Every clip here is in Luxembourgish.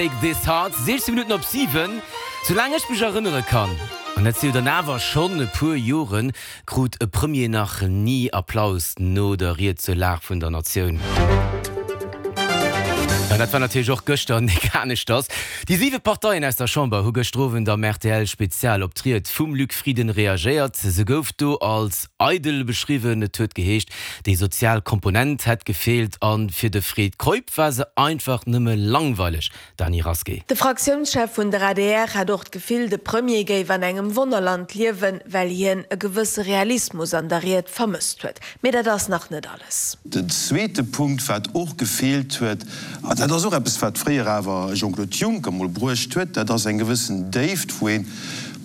Break This Heart, 16 Minutten op 7. Soulaang ech mech erënnere kann, an dat si jo dann awer schonn e puer Joren, krut e Premier nach ni Applaus no der Ried zur Lag vun der Natioun. An dat war natierlech och gëschter nik aneschters. Déi siwe Parteien aus der Chamber hu gëschter Owend am RTL-Spezial op d'Ried vum Luc Frieden reagéiert. Se gouf do als eidel beschriwwen. Et huet geheescht, déi sozial Komponent hätt gefeelt a fir de Fred Keup war se einfach nëmme langweileg. Dany Rasqué. De Fraktiounschef vun der adr hat och d'Gefill, de Premier géif an engem Wonnerland liewen, well hien e gewësse Realismus an der Ried vermësst huet. Mee dat ass nach net alles. Den zweete Punkt, wat och gefeelt huet, an dat ass och eppes, wat fréier awer Jean-Claude Juncker mol bruecht huet, dat ass eng gewëssen Déift, wou een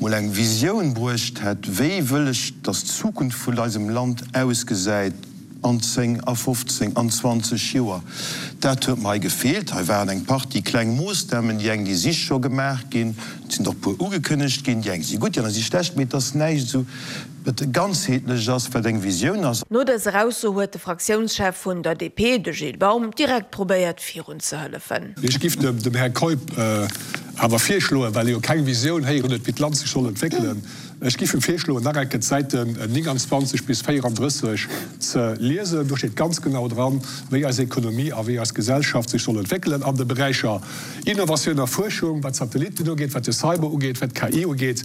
mol eng Visioun bruecht hätt, wéi wëll ech, dass d'Zukunft vun eisem Land ausgesäit an 10, a 15, an 20 Joer. Dat huet mer hei gefeelt. Hei waren eng Partie kleng Moossnamen, déi eng, déi si scho gemaach ginn, et sinn der och e puer ugekënnegt ginn, déi eng si gutt, déi aner si schlecht, mee et ass näischt esou, wat ganzheetlech ass, wat eng Visioun ass. No dëser Ausso huet de Fraktiounschef vun der DP, de Gilles Baum, direkt probéiert virun ze hëllefen. Ech giff dem Här Keup awer virschloen, well e jo keng Visioun héieren huet, wéi d'Land sech soll entwéckelen, ech giff em virschloen, nach eng Kéier d'Säiten 29 bis 34 ze liesen. Do steet ganz genau dran, wéi eis Ekonomie a wéi eis Gesellschaft sech soll entwéckelen an de Beräicher Innovatioun a Fuerschung, wat d'Satellitten ugeet, wat de Cyber ugeet, wat d'KI ugeet.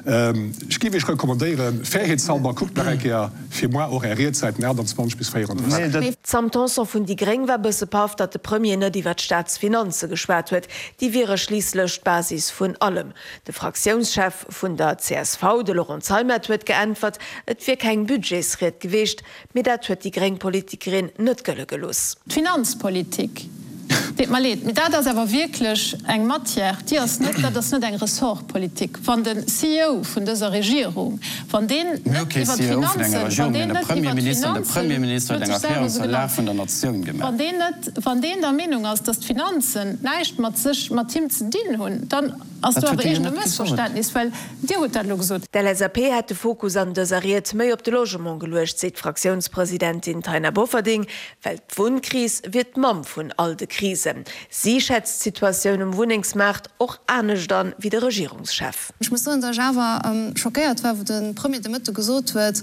Ech giff Iech recommandéieren, fairheetshalber, kuckt nach eng Kéier fir moi och Är Ried, Säiten 28 bis 34. D'Sam Tanson vun déi gréng war bësse paff, datt de Premier net iwwer d'Staatsfinanze geschwat huet. Déi wiere schliisslech d'Basis vun allem. De Fraktiounschef vun der csv, de Laurent Zeimet, huet geäntwert, et wier keng Budgetsried geweecht. Mee dat huet déi gréng Politikerin net gëlle gelooss. D'Finanzpolitik, deet mer leed, mee dat ass awer wierklech eng Matière, déi ass net, dat ass net eng Ressortpolitik. Wann de CEO vun dëser Regierung, wann deen net iwwer d'Finanzen, wann deen net iwwer d'Finanzen, huet sech selwer esou genannt, wann deen net, wann deen der Meenung ass, datt d'Finanzen näischt mat sech, mat him ze dinn hunn, dann Ass do awer iergend e Mëssverständnis, well Dir hutt dat elo gesot. D'LSAP hätt de Fokus an dëser Ried méi op de Logement geluecht, seet d'Fraktiounspresidentin Taina Bofferding, well d'Wunnkris wier d'Mamm vun all de Krisen. Si schätzt d'Situatioun um Wunnengsmaart och anescht an, wéi de Regierungschef. Ech muss soen, datt ech awer schockéiert war, wou de Premier de Mëtte gesot huet,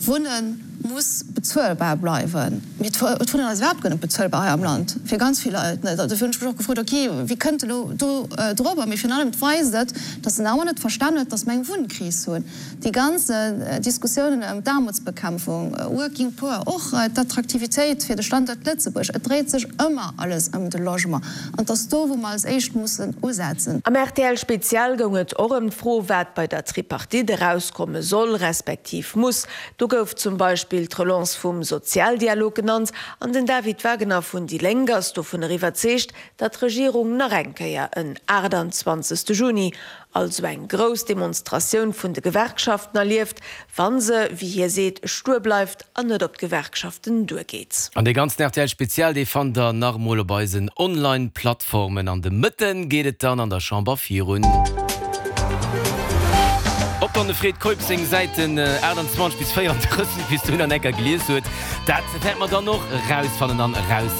Wunne muss bezuelbar bleiwen. Mee d'Wunnen ass iwwerhaapt guer net bezuelbar hei am Land, fir ganz vill Leit net. Dofir hunn ech mech och gefrot, ok, wéi kënnt elo do dorobber? Mee virun allem, et weist et, datt en awer net verstan huet, datt mer eng Wunnkris hunn. Déi ganz Diskussiounen ëm d'Aarmutsbekämpfung, Working Poor, och d'Attraktivitéit fir de Standuert Lëtzebuerg, et dréit sech ëmmer alles ëm de Logement. An et ass do, wou mer als éischt mussen usetzen. Am rtl Spezial goung et och ëm d'Fro, wat bei der Tripartite erauskomme soll, respektiv muss. Do gouf zum Beispill d'Relance vum Sozialdialog genannt an den David Wagner vun déi Lénk ass dovunner iwwerzeegt, datt d'Regierung nach eng Kéier en 28. Juni, also eng grouss Demonstratioun vun de Gewerkschaften erlieft, wa se, wéi hie seet, stuer bleift an net op d'Gewerkschaften duergeet. An dee ganzen rtl Spezial, dee fannt der nach emol op eisen Online Plattformen. An de Mëtten geet et dann an der Chamber virun. Ob dann de Fred Keup seng Säiten 28 bis 34 bis dohin an enker gelies huet, dat wäerte mer dann och erausfannen an eraus.